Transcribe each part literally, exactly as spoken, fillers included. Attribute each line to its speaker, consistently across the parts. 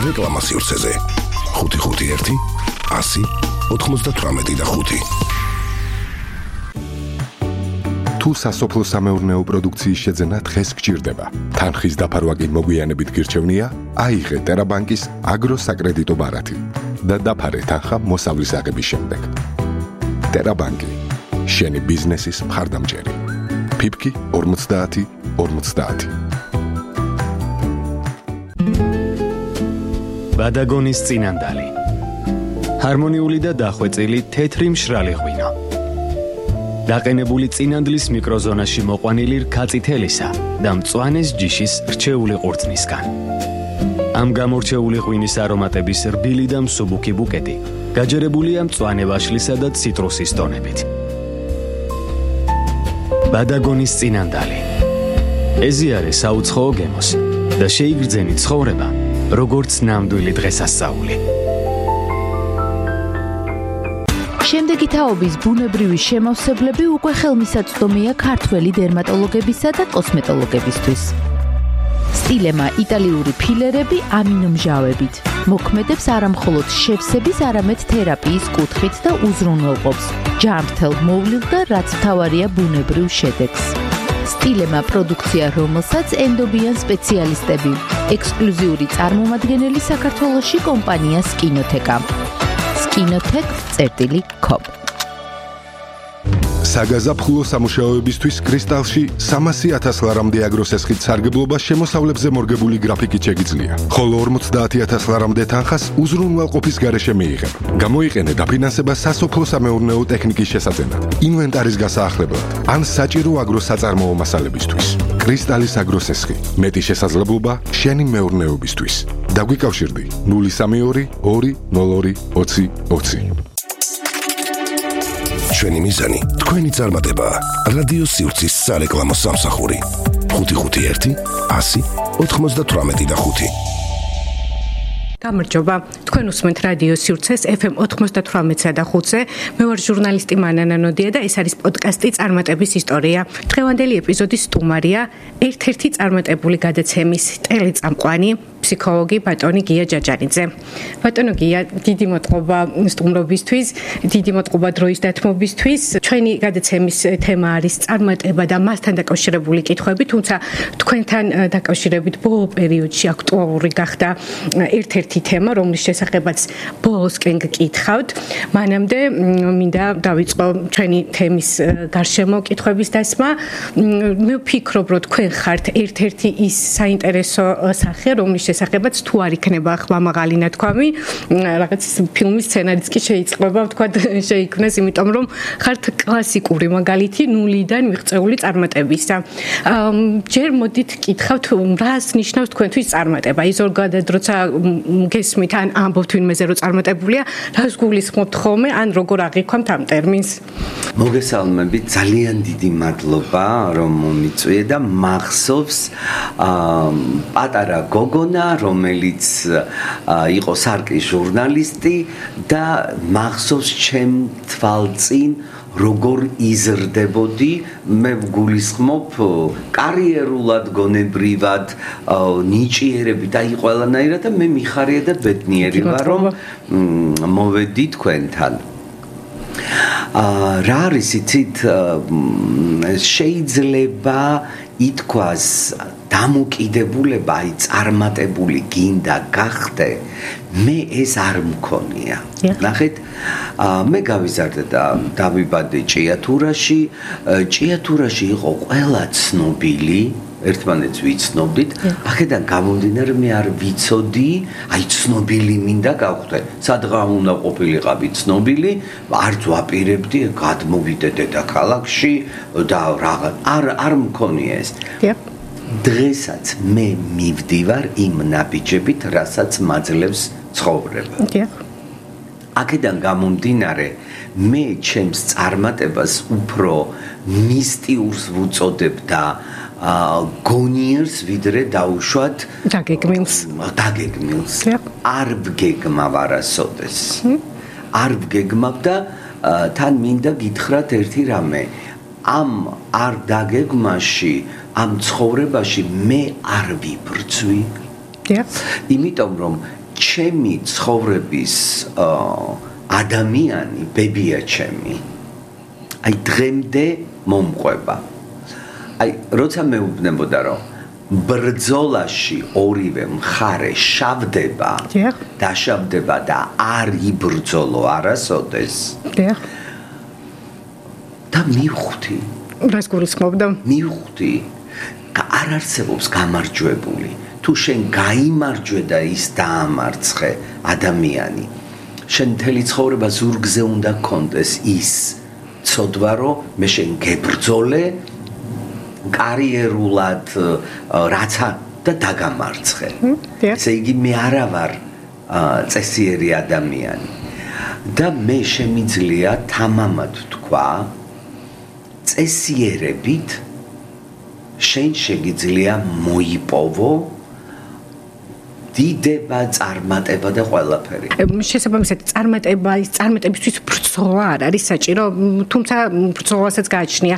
Speaker 1: სარეკლამო სივრცეზე ხუთი ხუთი ერთი ასი ოთხმოცდათვრამეტი და ხუთი. თუ სასოფლო სამეურნეო პროდუქციის შეძენა დღეს გჭირდება, თანხის დაფარვა კი მოგვიანებით გირჩევნია, აიღე ტერაბანკის აგროსაკრედიტო ბარათი და დაფარე თანხა მოსავლის აღების შემდეგ. ტერაბანკი, შენი ბიზნესის მხარდამჭერი. ფიფკი ორმოცდაათი ორმოცდაათი.
Speaker 2: ბადაგონის წინანდალი. ჰარმონიული და დახვეწილი თეთრი მშრალი ღვინო. დაყენებული წინანდლის მიკროზონაში მოყვანილი რქაწითელისა და მწვანეს ჯიშის რჩეული ყურძნისგან. ამ გამორჩეული ღვინის არომატების რბილი და მსუბუქი ბუკეტი გაჯერებულია მწვანე ვაშლისა და ციტრუსის ტონებით. ბადაგონის წინანდალი. ეზიარე საუცხოო გემოს და შეიგრძენი ცხოვრება, როგორც ნამდვილი დღესასწაული.
Speaker 3: შემდეგი თაობის ბუნებრივი შემავსებლები უკვე ხელმისაწვდომია ქართველი დერმატოლოგებისა და კოსმეტოლოგებისთვის. სტილემა იტალიური ფილერები ამინომჟავებით მოქმედებს არამხოლოდ შევსების, არამედ თერაპიის კუთხით და უზრუნველყოფს ჯანმრთელ მოვლილ და რაც მთავარია ბუნებრივ შედეგს. სტილემა პროდუქცია, რომელსაც ენდობიან სპეციალისტები, ექსკლუზიური წარმომადგენელი საქართველოში კომპანია სკინოთეკა. სკინოთეკ წერტილი კომ.
Speaker 1: საგაზაფხულო სამუშაოებისთვის კრისტალში სამასი ათას ლარამდე აგროსესხით სარგებლობა შემოსავლებზე მორგებული გრაფიკით შეგიძლია. ხოლო ორმოცდაათი ათას ლარამდე თანხას უზრუნველყოფის გარეშე მიიღებ. გამოიყენე დაფინანსება სასოფლო სამეურნეო ტექნიკის შესაძენად, ინვენტარის გასაახლებლად, ან საჭირო აგროსაწარმოო მასალებისთვის. კრისტალის აგროსესხი, მეტი შესაძლებლობა შენი მეურნეობისთვის. დაგვიკავშირდი ნული სამი ორი ორი ნულ ორი ოცი ოცი. ჩვენი მიზანი თქვენი წარმატება. რადიო სივრცის სარეკლამო სამსახური ხუთი ხუთი ერთი ასი ოთხმოცდათვრამეტი და ხუთი.
Speaker 4: გამარჯობა, თქვენ უსმენთ რადიო სივრცეს ეფ ემ ოთხმოცდათვრამეტსა და ხუთზე. მე ვარ ჟურნალისტი მანანა ნოდია და ეს არის პოდკასტი წარმატების ისტორია. დღევანდელი ეპიზოდის სტუმარია ერთ-ერთი წარმატებული გადაცემის ტელეწამყვანი, ფსიქოლოგი ბატონი გია ჯაჯარიძე. ბატონო გია, დიდი მადლობა სტუმრობისთვის, დიდი მადლობა დროის დათმობისთვის. ჩვენი გადაცემის თემა არის წარმატება და მასთან დაკავშირებული კითხვები, თუმცა თქვენთან დაკავშირებით ბოლო პერიოდში აქტუალური გახდა ერთ-ერთი თემა, რომლის შესახებაც ბოლოსკენ გკითხავთ. მანამდე მინდა დავიწყო ჩვენი თემის გარშემო კითხვების დასმა. მე ვფიქრობ, რომ თქვენ ხართ ერთ-ერთი ის საინტერესო სახე, რომლის შესახებაც თუ არ იქნება ხმამაღალი ნათქვამი, რაღაც ფილმის სცენარიც კი შეიძლება ვთქვათ შეიქმნას, იმიტომ რომ ხართ კლასიკური მაგალითი ნულიდან მიღწეული წარმატებისა. ჯერ მოდით კითხავთ, რას ნიშნავს თქვენთვის წარმატება? ის ზოგადად როცა გესმით ან ამბობთ ვინმეზე რომ წარმატებულია, რას გულისხმობთ ხოლმე, ან როგორ აღიქვამთ ამ ტერმინს?
Speaker 5: მოგესალმებით, ძალიან დიდი მადლობა რომ მომიწვიე და მახსოვს პატარა გოგონა, რომელიც იყო სარკის ჟურნალისტი და მახსოვს ჩემ თვალწინ როგორ იზრდებოდი, მე ვგულისხმობ კარიერულად, გონებრივად, ნიჭიერებით, აი ყველანაირად და მე მიხარია და ბედნიერი ვარ, რომ მოვედი თქვენთან. რა არის იცით, შეიძლება ითქვას დამოკიდებულება, აი წარმატებული გინდა გახდე, მე ეს არ მქონია. ნახეთ, მე გავიზარდე და დავიბადე ჭიათურაში. ჭიათურაში იყო ყველა ცნობილი, ერთმანეთს ვიცნობდით. აქედან გამომდინარე მე არ ვიცოდი, აი ცნობილი მინდა გავხდე. სადღა უნდა ყოფილიყავი ცნობილი, არც ვაპირებდი გადმოვიდე დედაქალაქში და რაღაც არ არ მქონია ეს. დღესაც მე მივდივარ იმ ნაბიჯებით, რასაც მაძლევს ცხოვრება. აქედან გამომდინარე, მე ჩემს წარმატებას უფრო მისტიურს ვუწოდებ და გონიერს ვიდრე დაუშვათ
Speaker 4: დაგეგმილს.
Speaker 5: დაგეგმილს. არ ვგეგმავ არასოდეს. არ ვგეგმავ და თან მინდა გითხრათ ერთი რამე. ამ არ დაგეგმაში, ამ ცხოვრებაში მე არ ვიბრძვი. იმიტომ რომ ჩემი ცხოვრების ადამიანი ბებია ჩემი. აი დღემდე მომყვება. აი როცა მეუბნებოდა რომ ბრძოლაში ორივე მხარე შავდება, დაშავდება და არ იბრძოლო არასოდეს.
Speaker 4: დიახ.
Speaker 5: და მივხვდი.
Speaker 4: რას გულისხმობდა?
Speaker 5: მივხვდი. არ არსებობს გამარჯვებული. თუ შენ გაიმარჯვე და ის დაამარცხე ადამიანი, შენ მთელი ცხოვრება ზურგზე უნდა გქონდეს ის ცოდვა, რომ მე შენ გებრძოლე კარიერულად რაცა და დაგამარცხე. ესე იგი მე არა ვარ წესიერი ადამიანი. და მე შემიძლია თამამად თქვა, წესიერებით შენ შეგიძლია მოიპოვო დიდება, წარმატება და ყველაფერი.
Speaker 4: შესაბამისად, წარმატება, ის წარმატებისთვის ბრძოლა არ არის საჭირო, თუმცა ბრძოლასაც გააჩნია.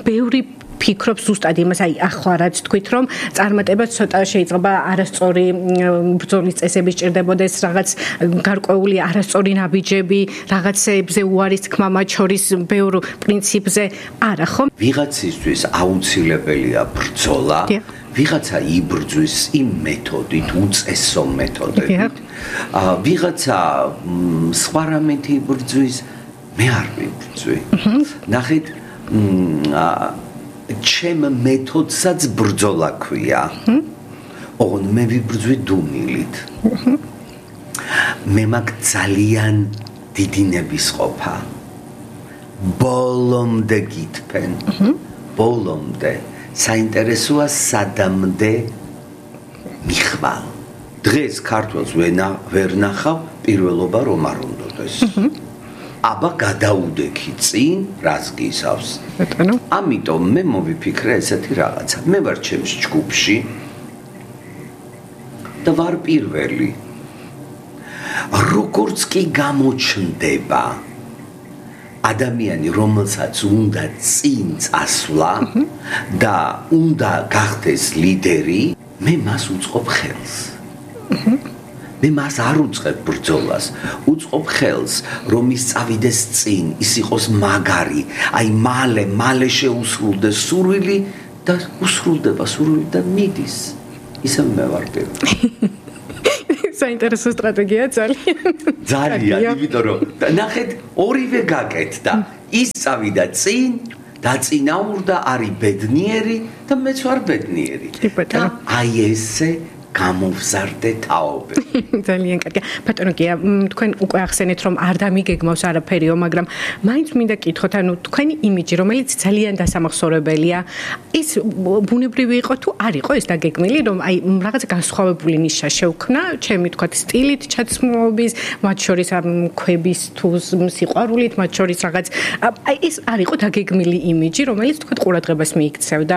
Speaker 4: ბევრი ფიქრობს ზუსტად იმას, აი ახლა რაც თქვით, რომ წარმატება ცოტა შეიძლება არასწორი ბრძოლის წესები სჭირდებოდეს, რაღაც გარკვეული არასწორი ნაბიჯები, რაღაცებზე უარის თქმა მათ შორის ბევრ პრინციპზე არა ხომ?
Speaker 5: ვიღაცისთვის აუცილებელია ბრძოლა. ვიღაცა იბრძვის იმ მეთოდით, უწესო მეთოდებით. ვიღაცა სხვა რამით იბრძვის, მე არ ვიბრძვი. ნახეთ, ჩემ მეთოდსაც ბრძოლა ქვია. ოღონდ მე ვიბრძვი დუმილით. მე მაგ ძალიან დიდი ნებისყოფა. ბოლომდე გითფენ. ბოლომდე. საინტერესოა სადამდე მიხვალ. დღეს ქართველს ვერ ნახავ, პირველობა რომ არ უნდოდეს. აბა გადაუდექი წინ, რას გისავს. ამიტომ მე მოვიფიქრე ესეთი რაღაცა. მე ვარ ჩემს ჯგუფში და ვარ პირველი. როგორც კი გამოჩნდება ადამიანი, რომელსაც უნდა წინ წასვლა და უნდა გახდეს ლიდერი, მე მას უწყობ ხელს. მე მას არ უწყებ ბრძოლას, უწყობ ხელს, რომ ის წავიდეს წინ, ის იყოს მაგარი, აი მალე, მალე შეუსრულდეს სურვილი და უსრულდება სურვილი და მიდის. ისე მე ვარ პირველი.
Speaker 4: საინტერესო სტრატეგია ძალიან.
Speaker 5: ძალიან, იმიტომ რომ ნახეთ, ორივე გაკეთდა. ის წავიდა წინ, დაწინაურდა, არის ბედნიერი და მეც ვარ ბედნიერი. და აი ესე გამოვზარდე თაობები.
Speaker 4: ძალიან კარგი. ბატონო გია, თქვენ უკვე ახსენეთ, რომ არ დამიგეგმავს არაფერიო, მაგრამ მაინც მინდა კითხოთ, ანუ თქვენი იმიჯი, რომელიც ძალიან დასამახსოვრებელია, ის ბუნებრივი იყო თუ არ იყო ეს დაგეგმილი, რომ აი რაღაც განსხვავებული ნიშა შევქმნა, ჩემი თქვათ სტილით, ჩაცმულობის, მათ შორის ამ ქვების თუ სიყვარულით, მათ შორის რაღაც აი ეს არ იყო დაგეგმილი იმიჯი, რომელიც თქვათ ყურადღებას მიიქცევდა.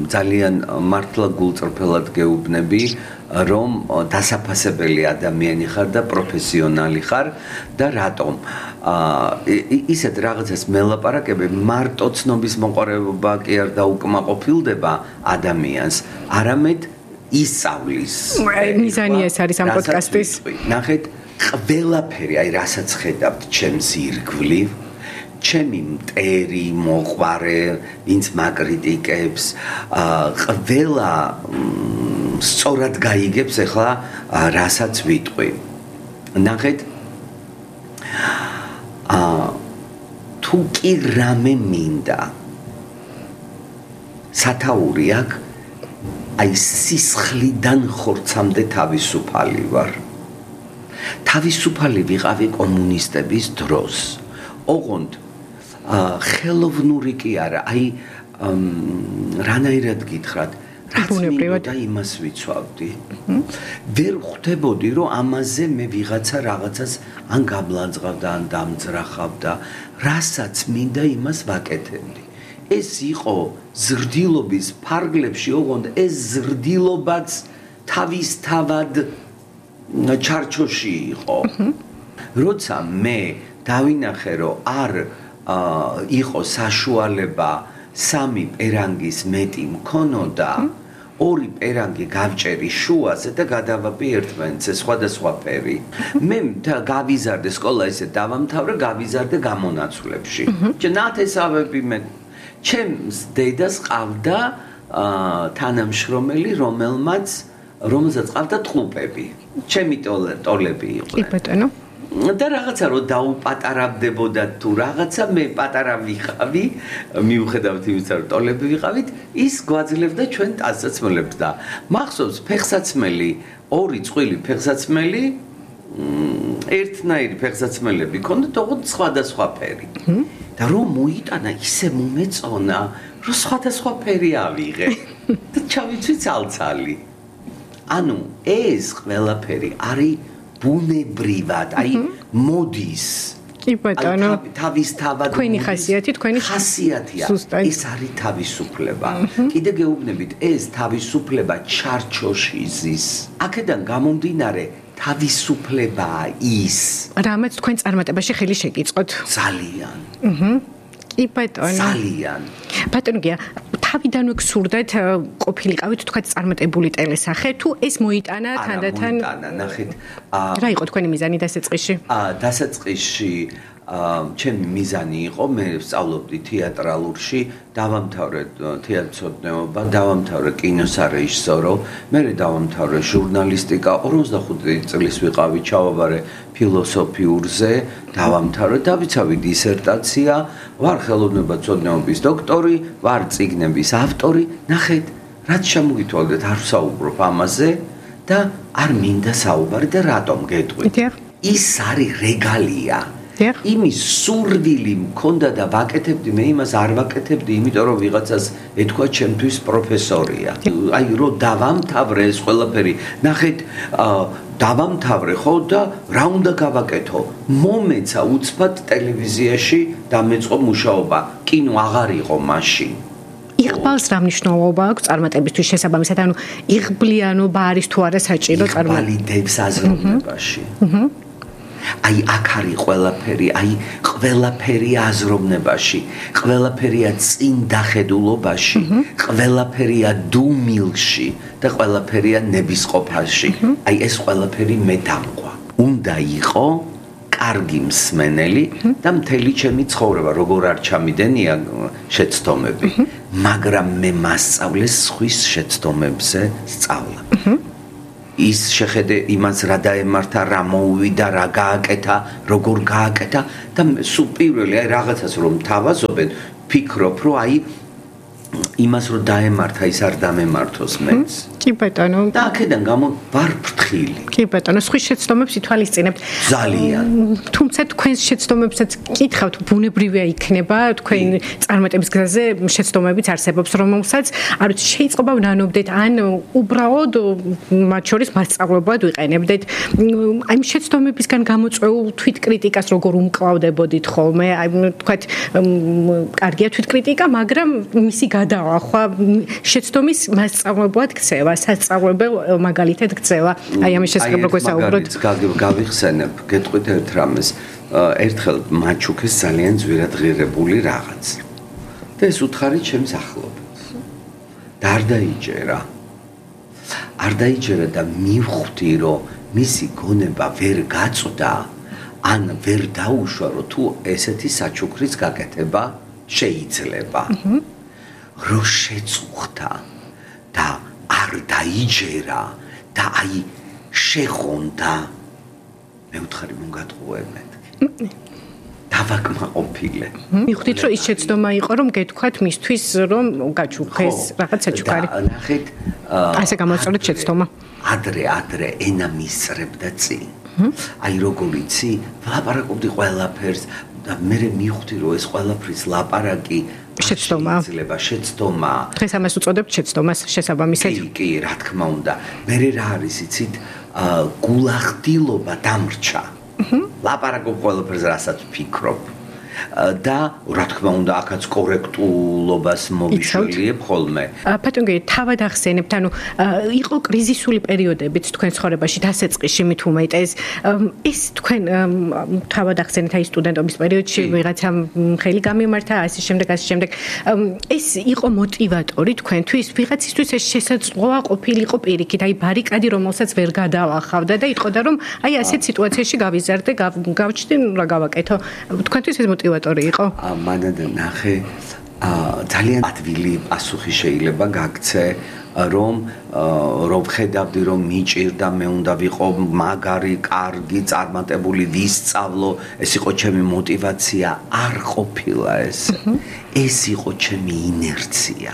Speaker 5: ძალიან მართლა გულწრფელად გეუბნები, რომ დასაფასებელი ადამიანი ხარ და პროფესიონალი ხარ და რატომ ისეთ რაღაცას მელაპარაკები, მარტო ცნობის მოყარება კი არ დაუკმაყოფილდება ადამიანს, არამედ ისწავლის.
Speaker 4: მიზანი ეს არის ამ პოდკასტის.
Speaker 5: ნახეთ, ყველაფერი, აი რასაც ხედავთ ჩემს ირგვლივ, ჩემი მტერი, მოყვარე, ვინც მაკრიტიკებს, ყველა სწორად გაიგებს ახლა რასაც ვიტყვი. ნახეთ, თუ კი რამე მინდა, სათაური აქ, აი სისხლიდან ხორცამდე თავისუფალი ვარ. თავისუფალი ვიყავი კომუნისტების დროს. ოღონდ ხელოვნური კი არა, აი რანაირად გითხრათ, რაც მინდოდა იმას ვიცვავდი. ვერ ხვდებოდი, რომ ამაზე მე ვიღაცა რაღაცას ან გამლანძღავდა, ან დამძრახავდა, რასაც მინდა იმას ვაკეთებდი. ეს იყო ზრდილობის ფარგლებში, ოღონდ ეს ზრდილობაც თავისთავად ჩარჩოში იყო. როცა მე დავინახე, რომ არ იყო საშუალება სამი პერანგის მეტი მქონოდა, ორი პერანგი გავჭერი შუაზე და გადავაბი ერთმანეთზე სხვადასხვა ფერი. მე გავიზარდე სკოლა ესე დავამთავრე, გავიზარდე გამონაცვლებში. ნათესავები მე ჩემს დედას ყავდა თანამშრომელი, რომელმაც რომელსაც ყავდა ტყუპები. ჩემი ტოლები იყო.
Speaker 4: კი ბატონო.
Speaker 5: და რაღაცა რო დაუპატარებდებოდა თუ რაღაცა მე პატარა ვიყავი, მიუხედავად იმისა, რომ ტოლები ვიყავით, ის გვაძლევდა ჩვენ ტანსაცმელებს და მახსოვს ფეხსაცმელი, ორი წყვილი ფეხსაცმელი, ერთნაირი ფეხსაცმელები ქონდა, თუმცა სხვადასხვა ფერი. და რომ მოიტანა ისე მომეწონა, რომ სხვადასხვა ფერი ავიღე და ჩავიცვი ცალცალი. ანუ ეს ყველაფერი არის ბუნებრივად, აი მოდის.
Speaker 4: კი ბატონო.
Speaker 5: თავის თავად
Speaker 4: თქვენი ხასიათი, თქვენი
Speaker 5: ხასიათია. ეს არის თავისუფლება. კიდე გეუბნებით, ეს თავისუფლება ჩარჩოში ზის. აქედან გამომდინარე თავისუფლებაა ის.
Speaker 4: რამაც თქვენ წარმატებაში ხელი შეგიწყოთ.
Speaker 5: ძალიან.
Speaker 4: აჰა. კი ბატონო.
Speaker 5: ძალიან.
Speaker 4: ბატონო გია, თავიდანვე გსურდეთ ყოფილიყავით თქვა წარმატებული ტელესახე, თუ ეს მოიტანა თანდათან?
Speaker 5: არა, მოიტანა, ნახეთ.
Speaker 4: რა იყო თქვენი მიზანი დასაწყისში?
Speaker 5: აა, დასაწყისში ჩემი მიზანი იყო, მე ვსწავლობდი თეატრალურში, დავამთავრე თეატრცოდნეობა, დავამთავრე კინოსარეჟისორო, მე დავამთავრე ჟურნალისტიკა, ორმოცდახუთი წლის ვიყავი, ჩავაბარე ფილოსოფიურზე, დავამთავრე, დავიცავი დისერტაცია, ვარ ხელოვნებაცოდნეობის დოქტორი, ვარ წიგნების ავტორი, ნახეთ, რაც შემოგითვალეთ, არ ვსაუბრობ ამაზე და არ მინდა საუბარი და რატომ გეტყვით? ის არის რეგალია. იმის სურვილი მქონდა და ვაკეთებდი, მე იმას არ ვაკეთებდი, იმიტომ რომ ვიღაცას ეთქვა ჩემთვის პროფესორია. აი რომ დავამთავრე ეს ყველაფერი, ნახეთ, დავამთავრე ხო და რა უნდა გავაკეთო? მომეცა უცბად ტელევიზიაში დამეწყო მუშაობა. კინო აღარ იყო მაშინ.
Speaker 4: იღბალს რა მნიშვნელობა აქვს წარმატებისთვის შესაბამისად, ანუ იღბლიანობა არის თუ არა საჭირო
Speaker 5: წარმატება? იღბალიდებს აზროვნებაში. აჰა. აი აქ არის ყველაფერი, აი ყველაფერი აზროვნებაში, ყველაფერია წინ დახედულობაში, ყველაფერია დუმილში და ყველაფერია ნებისყოფაში. აი ეს ყველაფერი მე დამყვა. უნდა იყო კარგი მსმენელი და მთელი ჩემი ცხოვრება, როგორ არ ჩამიდენია შეცდომები, მაგრამ მე მასწავლეს სხვის შეცდომებზე სწავლა. ის შეხედე იმას რა დაემართა, რა მოუვიდა, რა გააკეთა, როგორ გააკეთა და სულ პირველი აი რაღაცას რომ თავაზობენ, ფიქრობ რომ აი იმას რომ დაემართა ის არ დამემართოს მეც.
Speaker 4: კი ბატონო.
Speaker 5: და აქედან გამო ვარ ფრთხილი.
Speaker 4: კი ბატონო, სხვის შეცდომებს ითვალისწინებთ.
Speaker 5: ძალიან.
Speaker 4: თუმცა თქვენს შეცდომებსაც კითხავთ, ბუნებრივია იქნება თქვენ წარმატების გზაზე შეცდომებიც არსებობს, რომელსაც არ ვიცი, შეიძლება ვნანობდეთ, ან უბრალოდ მათ შორის მასწავლებლად ვიყენებდეთ. აი შეცდომებისგან გამოწვეულ თვითკრიტიკას როგორ უმკლავდებოდით ხოლმე? აი თქვათ, კარგია თვითკრიტიკა, მაგრამ მისი გადაახვა შეცდომის მასწავლებლად ქცევა. სასწავლებელ მაგალითად ქცევა. აი ამის შესახებ როგორ საუბრობთ?
Speaker 5: გავიხსენებ, გეტყვით ერთ რამეს. ერთხელ მაჩუქეს ძალიან ძვირად ღირებული რაღაც. და ეს უთხარი ჩემს ახლობელს. და არ დაიჯერა. არ დაიჯერა და მივხვდი, რომ მისი გონება ვერ გაწვდა, ან ვერ დაუშვა, რომ თუ ესეთი საჩუქრის გაკეთება შეიძლება. რო შეწუხდა და არ დაიჯერა და აი შეხონდა მე ვთხარი მომგატყუე მეთქი დავაკმაყოფილე
Speaker 4: მივხვდით რომ ის შეცდომა იყო რომ გეთქვათ მისთვის რომ გაჩუქეს რაღაც საჩუქარი
Speaker 5: ნახეთ
Speaker 4: ასე გამოწოდეთ შეცდომა
Speaker 5: ადრე ადრე ენა მისწრებდა წინ აი როგორიცი ვლაპარაკობდი ყველაფერს და მე მივხვდი რომ ეს ყველაფრის ლაპარაკი
Speaker 4: შეცდომა
Speaker 5: ძლება შეცდომა
Speaker 4: დღეს ამას უწოდებთ შეცდომას შესაბამისად
Speaker 5: კი კი რა თქმა უნდა მე რა არის იცით გულახდილობა დამრჩა ლაპარაკობ ყველაფერს რასაც ვფიქრობ და რა თქმა უნდა აქაც კორექტულობას მოვიშველიებ ხოლმე.
Speaker 4: ბატონო, თავად ახსენებთ, ანუ იყო კრიზისული პერიოდებიც თქვენ ცხოვრებაში დასაწყისში მით უმეტეს. ეს თქვენ თავად ახსენეთ აი სტუდენტობის პერიოდში ვიღაცამ ხელი გამიმართა, ასე შემდეგ, ასე შემდეგ. ეს იყო მოტივატორი თქვენთვის, ვიღაცისთვის ეს შესაძლოა ყოფილიყო პირიქით, აი ბარიკადი, რომელსაც ვერ გადავახავდა და იტყოდა რომ აი ასეთ სიტუაციაში გავიზარდე, გავჩნდი, რა გავაკეთო. თქვენთვის ეს მოტივატორი იყო?
Speaker 5: მანამდე ნახე ძალიან ადვილი პასუხი შეიძლება გაგცე რომ რომ ხედავდი რომ მიჭირდა მე უნდა ვიყო მაგარი, კარგი, წარმატებული, ვისწავლო, ეს იყო ჩემი მოტივაცია, არ ყოფილა ეს. ეს იყო ჩემი ინერცია.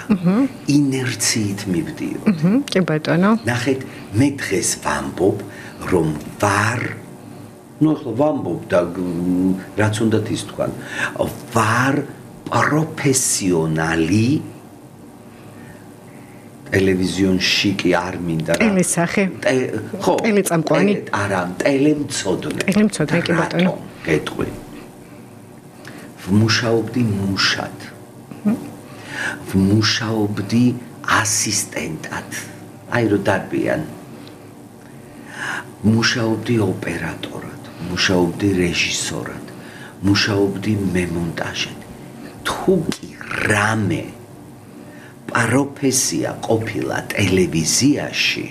Speaker 5: ინერციით მივდიოდ.
Speaker 4: კი ბატონო.
Speaker 5: ნახეთ, მე დღეს ვამბობ რომ ვარ ну ახლა ვამბობ და რაც უნდათ ის თქვან ვარ პროფესიონალი ტელევიზიონში კი არ მინდა რა
Speaker 4: ტელესახე
Speaker 5: ხო
Speaker 4: ტელეწამყვანი
Speaker 5: არა ტელემცოდნე
Speaker 4: ტელემცოდნე კი ბატონო
Speaker 5: გეტყვი ვმუშაობდი მუშად ვმუშაობდი ასისტენტად აი რო დარბიან მუშაობდი ოპერატორად მუშაობდი რეჟისორად მუშაობდი მემონტაჟად თუ კი რამე პროფესია ყოფილა ტელევიზიაში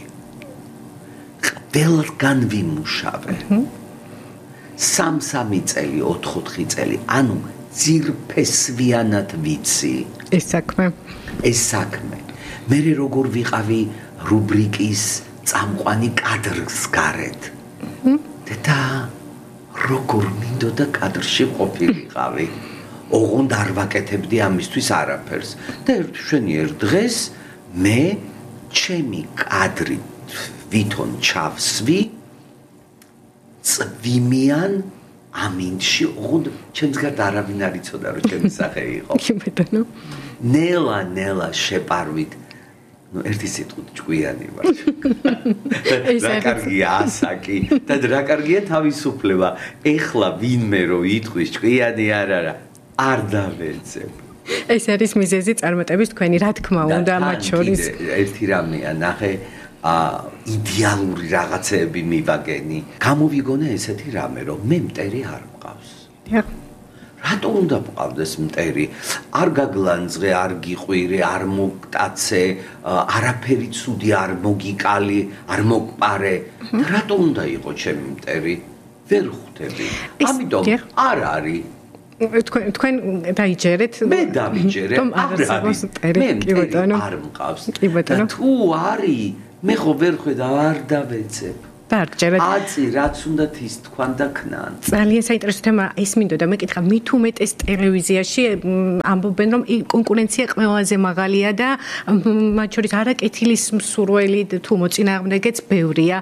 Speaker 5: ყველგან ვიმუშავე სამ-სამი წელი ოთხ-ოთხი წელი ანუ ძირფესვიანად ვიცი
Speaker 4: ეს საქმე
Speaker 5: ეს საქმე მე როგორ ვიყავი რუბრიკის წამყვანი კადრს გარეთ და როგორ მინდოდა კადრში ყოფილიყავი ოღონდ არ ვაკეთებდი ამისთვის არაფერს და ერთშვენიერ დღეს მე ჩემი კადრი ვითონ ჩავსვი წვიმიან ამინდში ოღონდ ჩემს გარდა არავინ არ იცოდა რომ ჩემი სახე იყო
Speaker 4: კი ბატონო
Speaker 5: ნელა ნელა შეპარვით ну ერთი სიტყვით ჭკვიანი ვარ. რა კარგია ასაკი და რა კარგია თავისუფლება. ეხლა ვინმე რო იტყვის ჭკვიანი არ არა, არ დავეცებ.
Speaker 4: ეს არის მიზეზი წარმატების თქვენი, რა თქმა უნდა, მათ შორის.
Speaker 5: ერთი რამეა, ნახე, იდეალური რაღაცეები მივაგენი. გამოვიგონე ესეთი რამე, რომ მე მტერი არ მყავს.
Speaker 4: დიახ.
Speaker 5: რატო უნდა მყავდეს მტერი? არ გაგლანძღე, არ გიყვირე, არ მოგტაცე, არაფერი ცუდი არ მოგიკალი, არ მოგპარე. რატო უნდა იყო ჩემი მტერი? ვერ ხვდები. ამიტომ არ არის.
Speaker 4: თქვენ თქვენ დაიჯერეთ?
Speaker 5: მე დავიჯერე.
Speaker 4: არ არის მტერი. კი ბატონო.
Speaker 5: არ მყავს.
Speaker 4: კი ბატონო.
Speaker 5: თუ არის, მე ხო ვერ ხვდა არ დავეცებ.
Speaker 4: დარჯერეთ.
Speaker 5: აცი რაც უნდა ის თქვან და ქნან.
Speaker 4: ძალიან საინტერესო თემა ის მინდოდა მეკითხა მით უმეტეს ტელევიზიაში ამბობენ რომ კონკურენცია ყველაზე მაღალია და მათ შორის არაკეთილის მსურველი თუ მოწინააღმდეგეც ბევრია.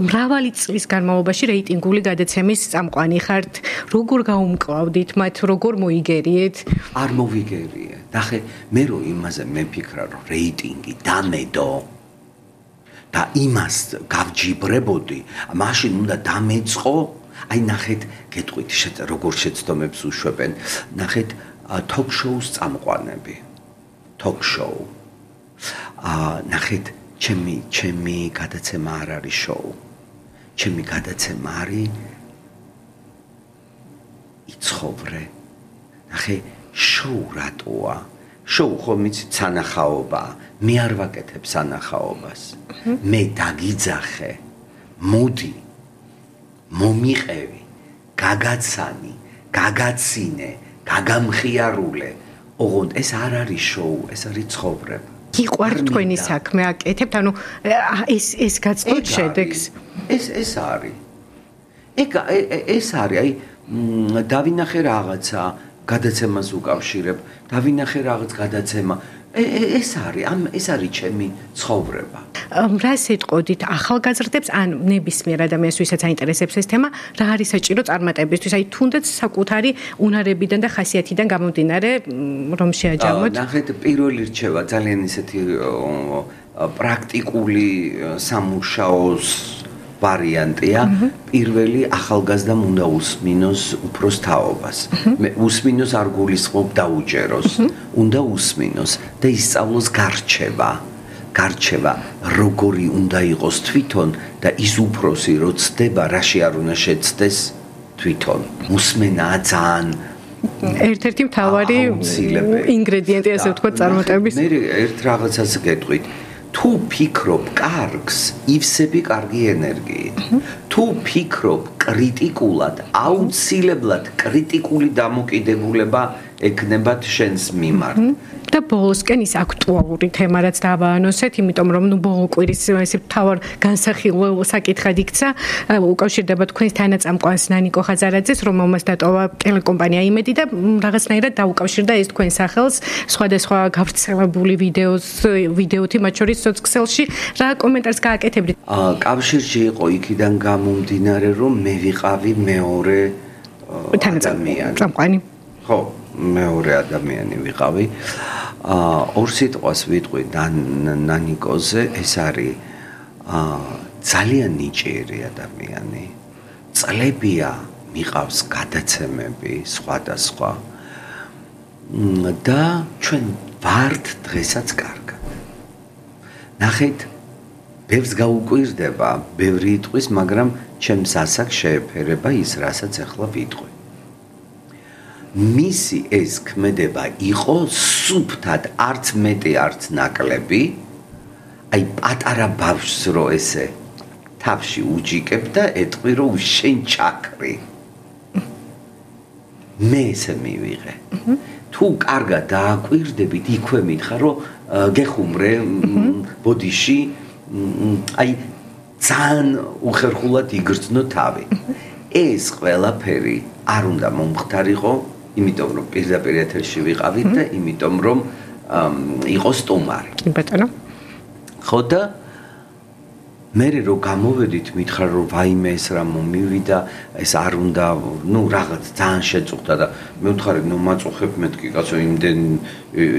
Speaker 4: მრავალი წლის განმავლობაში რეიტინგული გადაცემის წამყვანი ხართ. როგორ გაუმკლავდით მათ, როგორ მოიგერიეთ?
Speaker 5: არ მოვიგერიე. ნახე, მე რო იმაზე მეფიქრა რომ რეიტინგი დამედო და იმას გავჯიბრებოდი, მაშინ უნდა დამეწყო, აი ნახეთ, გეტყვით, როგორ შეცდომებს უშვებენ, ნახეთ, თოქ-შოუს წამყვანები. თოქ-შოუ. აა ნახეთ, ჩემი ჩემი გადაცემა არ არის შოუ. ჩემი გადაცემა არის იცხოვრე. ნახე, შოუ რატოა? შოუ ხომ იცით სანახაობა. მე არ ვაკეთებ სანახაობას. მე დაგიძახე. მოდი. მომიყევი. გაგაცანი, გაგაცინე, გაგამხიარულე. ოღონდ ეს არ არის შოუ, ეს არის ცხოვრება.
Speaker 4: გიყვართ თქვენი საქმე აკეთებთ, ანუ ეს ეს გაწყოთ შედეგს.
Speaker 5: ეს ეს არის. ეგ ეს არის, აი დავინახე რაღაცა გადაცემას უკავშირებ, დავინახე რაღაც გადაცემა. ეს არის, ამ ეს არის ჩემი ცხოვრება.
Speaker 4: რას ეტყოდით ახალგაზრდებს ან ნებისმიერ ადამიანს, ვისაც აინტერესებს ეს თემა, რა არის საჭირო წარმატებისთვის? აი თუნდაც საკუთარი უნარებიდან და ხასიათიდან გამომდინარე, რომ შეაჯამოთ.
Speaker 5: ნახეთ, პირველი რჩევა ძალიან ისეთი პრაქტიკული სამუშაოს ვარიანტია პირველი ახალგაზრდამ უნდა უსმინოს უფროს თაობას მე უსმინოს არ გულისხმობ დაუჯეროს უნდა უსმინოს და ისწავლოს გარჩევა გარჩევა როგორი უნდა იყოს თვითონ და ის უფროსი რო ცდება რაში არ უნდა შეცდეს თვითონ მოსმენაა ძალიან
Speaker 4: ერთ-ერთი მთავარი ინგრედიენტი ასე ვთქვათ წარმატების
Speaker 5: მე ერთ რაღაცას გეტყვით თუ ფიქრობ კარგს ივსები კარგი ენერგიით თუ ფიქრობ კრიტიკულად აუცილებლად კრიტიკული დამოკიდებულება ეკნებათ შენს მიმართ
Speaker 4: და ბოლოსკენ ის აქტუალური თემა რაც დავაანონსეთ, იმიტომ რომ ნუ ბოლო კვირის ესე თავარ განსახილველ საკითხად იქცა, უკავშირდება თქვენს თანაწამყვანს ნანიკო ხაზარაძეს, რომელმაც დატოვა ტელეკომპანია იმედი და რაღაცნაირად დაუკავშირდა ეს თქვენ სახელს სხვადასხვა გავრცელებული ვიდეოს ვიდეოთი მათ შორის სოციალში. რა კომენტარს გააკეთებდით?
Speaker 5: კავშირში იყო იქიდან გამომდინარე, რომ მე ვიყავი მეორე
Speaker 4: თანაწამყვანი.
Speaker 5: ხო, მეორე ადამიანი ვიყავი. აა ორ სიტყვას ვიტყვი ნანიკოზე, ეს არის აა ძალიან ნიჭიერი ადამიანი. წლებია მიყავს გადაცემები სხვადასხვა. და ჩვენ ვართ დღესაც კარგად. ნახეთ, ბევრს გაუკვირდება, ბევრი იტყვის, მაგრამ ჩემს ასაკს შეეფერება ის, რასაც ახლა ვიტყვი. მისი ეს ქმედება იყო სუფთად არც მეტი არც ნაკლები აი პატარა ბავშვს რო ესე თავში უჯიკებ და ეტყვი რომ შენ ჩაქრი მე ესე მივიღე თუ კარგად დააკვირდებით იქვე მითხა რომ გეხუმრე ბოდიში აი ძალიან უხერხულად იგრძნო თავი ეს ყველაფერი არ უნდა მომხდარიყო იმიტომ რომ პირდაპირ ეთერში ვიყავით და იმიტომ რომ იყო სტუმარი.
Speaker 4: კი ბატონო.
Speaker 5: ხო და მე რო გამოვედით მითხრა რომ ვაიმე ეს რა მომივიდა ეს არ უნდა ნუ რაღაც ძალიან შეწუხდა და მე ვთხარი ნუ მაწუხებ მეთქი კაცო იმდენ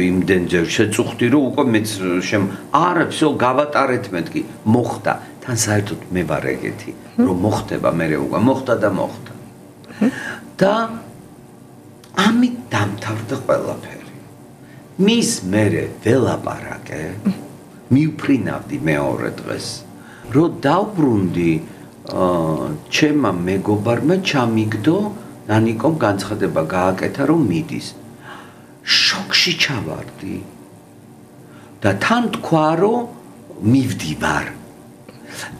Speaker 5: იმდენჯერ შეწუხდი რომ უკვე მეც შემ არა всё გავატარეთ მეთქი მოხდა თან საერთოდ მე ვარ ეგეთი რომ მოხდება მე უკვე მოხდა და მოხდა და ამით დამთავრდა ყველაფერი. მის მერე ველაპარაკე, მივფრინავდი მეორე დღეს, რომ დავბრუნდი ჩემმა მეგობარმა ჩამიგდო, ნანიკომ განცხადება გააკეთა, რომ მიდის. შოკში ჩავარდი და თან თქვა, რომ მივდივარ.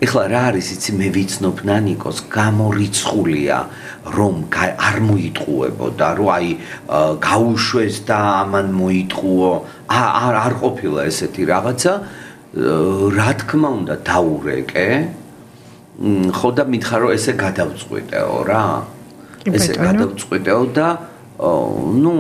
Speaker 5: ეხლა რა არის იცი მე ვიცნობ ნანიკოს გამორიცხულია რომ არ მოიტყუებოდა რომ აი გაუშვეს და ამან მოიტყუო არ არ ყოფილა ესეთი რაღაცა რა თქმა უნდა დაურეკე ხო და მითხარ რომ ესე გადავწყვიტეო რა ესე გადავწყვიტეო და ნუ